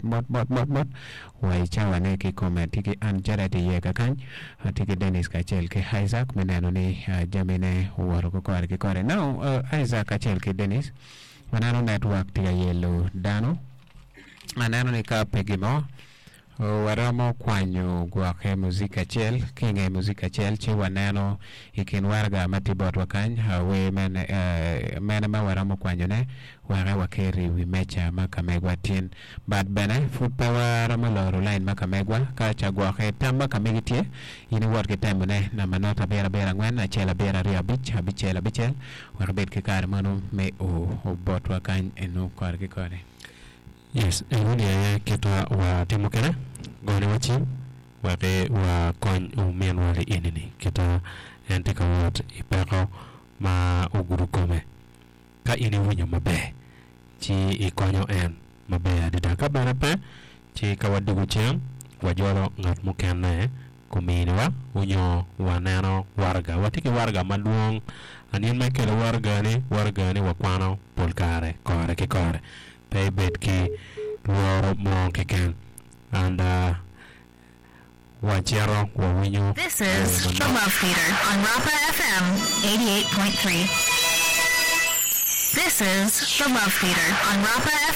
mot mot mot mot wa i cawane kikome. Tye ki Ann Jared iye kakany, tye ki Dennis kacel ki Isaac me neno ni jamine owoto ki kore ki kore. Now Isaac kacel ki Dennis waneno network tye ka yelo dano. Aneno ni ka pe gin mo Waromo kwanyo gwokke muzik acel ki i nge muzik acel ci waneno i kin waraga ma tye botwa kany wer mene mene ma waromo kwanyone weke waket i wi meja ma ka megwa tin. But bene pud pe waromo loro lain ma ka megwa ka ca gwokke tam ma ka megi tye in iwot ki temone namba not abiro abiro angwen acel abiro aryo abic abicel abicel wek ibed ki kare mono me o botwa kany eno kore ki kore. Yes, enoni aye kitwa wa timo kede, gone wa cim wek wa kony ominwa li enini kita en tye ka wot i peko ma ogudo kome. Ka in iwinyo maber ci ikonyo en maber adada, ka bene pe ci ka wadwogo cen wajolo ngat mukene kuminiwa onyo waneno waraga. Watye ki waraga madwong, anino ma ikelo waragani, waragani wakwano pol kare kore ki kore. Pe ibed ki lworo mo keken. And wacito wawinyo This wer is The manok. Love Theater on Rapa FM 88.3. This is The Love Theater on Rapa FM.